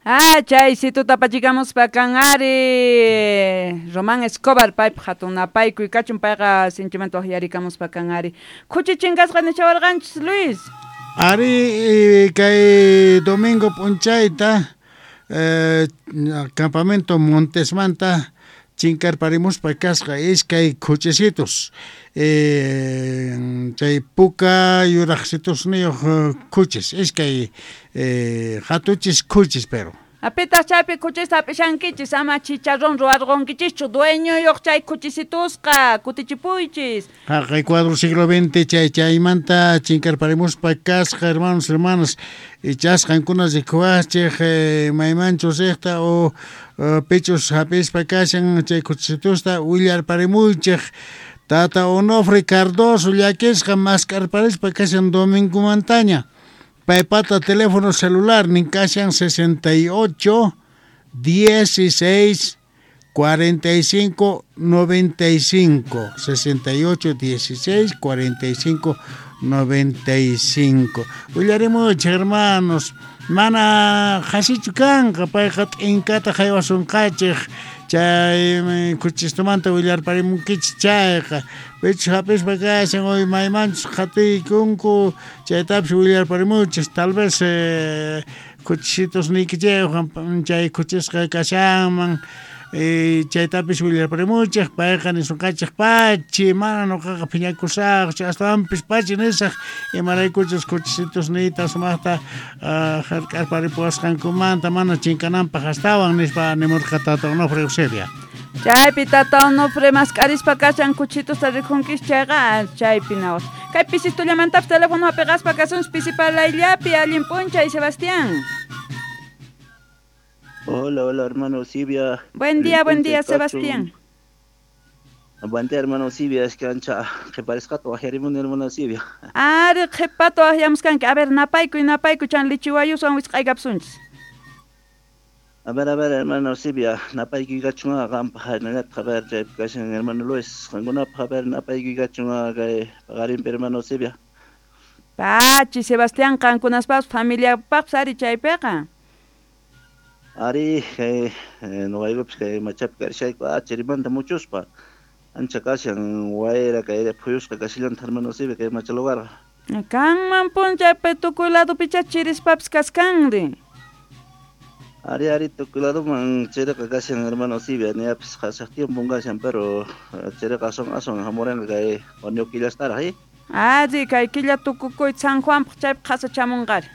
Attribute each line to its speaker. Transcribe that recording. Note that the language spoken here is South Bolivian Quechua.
Speaker 1: Ah, chay situta pachikamuspa kan ari. Román Escobar paypaq hatun napaykuy kachun payqa sinchimanta waqyarikamuspa kan ari. Khuchi chinkasqa nishawarqanchis Luis.
Speaker 2: Ari kay domingo p'unchayta campamento Montesmanta chinkarparimuspa kasqa iskay khuchisitos chay puka yuraqsitusniyuq khuchis iskay hatuchis khuchis pero.
Speaker 1: Apitaq chaypi khuchista hap'ishankichis ama chicharrón ruwarqunkichischu dueñoyuq chay khuchisitusqa kutichipuychis.
Speaker 2: Haqay cuadro siglo XX chay chaymanta chinkarparimuspa kasqa hermanos hermanas ichas qankuna rikuwaqchik maymanchus riqta o pichus hap'ispa kashan chay khuchisitusta willarparimuychik. Tata Onofre Cardoso llakisqa mask'arparispa kashan domingomantaña. Paypata teléfono celular nin kashan 68 16 45 95 68 16 45 95. Willarimuchik hermanos, mana qhasichu kanqa payqa t'inkata haywasunqachik chay khuchistumanta willarparimunkichik chayqa pichus hap'ispa kashan hoy maymanchus qhatiykunku chaytapis willarparimuchik tal vez khuchisitos niykichikwan chay khuchisqa kashanman chaytapis willarparimuchik payqa nisunqachik pachi mana nuqaqa phiñakusaqchu astawanpis pachi nisaq imaraykuchus khuchisitos niyta sumaqta hark'arparipuwasqankumanta mana chinkananpaq astawan nispa nimurqa tata Onofre Eusebia.
Speaker 1: Chaypi tata Onofre mask'arispa kashan khuchitusta rikunkis chayqa chaypi nawas. Kay pisistullamantapis teléfono hapiqaspa kasunchis pisipalayllapi allin p'unchay Sebastián.
Speaker 3: Hola, hola, hermano Silvia.
Speaker 1: Buen día, Sebastián.
Speaker 3: Buen día, hermano Silvia. Es que ancha, que parezca tu ajerimón, hermano Silvia.
Speaker 1: Ari, qhipato ahiamuskanki. A ver, napaykuy, napaykuy, chan lichiwayuswan wisq'aykapsunchis.
Speaker 3: A ver, hermano Silvia, napaykuy kachunqa qampaq hinallataq, a ver, chaypi kashan hermano Luis, qankunapaq, a ver, napaykuy kachunqa kay paqarinpi, hermano Silvia.
Speaker 1: Pachi, Sebastián, qankunaspapas familiapaqpas ari chaypiqa.
Speaker 3: Ari, kay nuqaykupis kay machapi karishayku chirimanta muchuspa ancha kashan wayra kay phuyusqa kashillanta hermano Silvia kay macha lugarqa.
Speaker 1: Kanman p'unchaypi tukuy ladopicha chirispapis kaskanri.
Speaker 3: Ari, ari, tukuy ladoman chiriqa kashan hermano Silvia, niyapis qhasaq tiempon kashan, pero chiriqa ason ason hamuranqa kay junio killastaraq,
Speaker 1: Ari, kay killa tukukuy San Juanpaq chaypi qhasachamunqari.